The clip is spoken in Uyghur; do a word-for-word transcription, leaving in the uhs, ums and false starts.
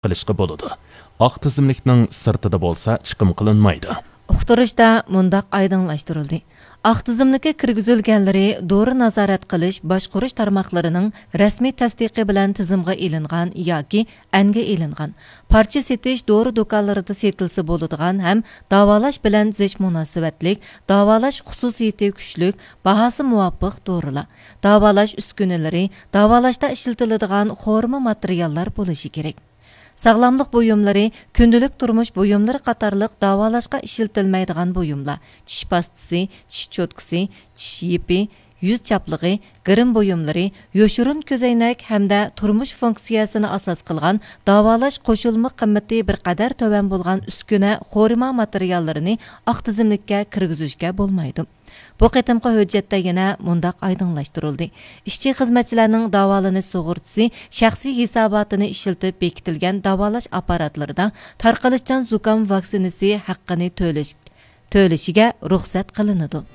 قىلىشقا بولىدۇ. ئاق تىزىملىكنىڭ سىرتىدا بولسا چىقىم قىلىنمايدۇ. ئۇقتۇرۇشتا مۇنداق ئايدىڭلاشتۇرۇلدى: ئاق تىزىملىككە كىرگۈزۈلگەنلىرى دورا نازارەت قىلىش باشقۇرۇش تارماقلىرىنىڭ رەسمىي تەستىقى بىلەن تىزىمغا ئېلىنغان ياكى ئەنگە ئېلىنغان، پارچە سېتىش دورا دۇكانلىرىدا سېتىلسا بولىدىغان ھەم داۋالاش بىلەن زىچ مۇناسىۋەتلىك، داۋالاش خۇسۇسىيىتى كۈچلۈك، باھاسى مۇۋاپىق دورىلار، داۋالاش ئۈسكۈنىلىرى، داۋالاشتا ئىشلىتىلىدىغان خورما ماتېرىياللار بولۇشى كېرەك. ساغلاملىق بۇيۇملىرى، كۈندىلىك تۇرمۇش بۇيۇملىرى قاتارلىق داۋالاشقا ئىشلىتىلمەيدىغان بۇيۇملار، چىش پاستىسى، چىش چوتكىسى، چىش يىپى، يۈز چاپلىقى، گىرىم بۇيۇملىرى، يوشۇرۇن كۆزەينەك ھەمدە تۇرمۇش فۇنكسىيەسىنى ئاساس قىلغان داۋالاش قوشۇلما قىممىتى بىر قەدەر تۆۋەن بولغان ئۈسكۈنە، خورما ماتېرىياللىرىنى ئاق تىزىملىككە كىرگۈزۈشكە بولمايدۇ. بۇ قېتىمقى ھۆججەتتە يەنە مۇنداق ئايدىڭلاشتۇرۇلدى: ئىشچى-خىزمەتچىلەرنىڭ داۋالىنىش سۇغۇرتىسى شەخسىي ھېساباتىنى ئىشلىتىپ بېكىتىلگەن داۋالاش ئاپپاراتلىرىدا تارقىلىشچان زۇكام ۋاكسىنىسى ھەققىنى تۆلەش، تۆلىشىگە رۇخسەت قىلىنىدۇ.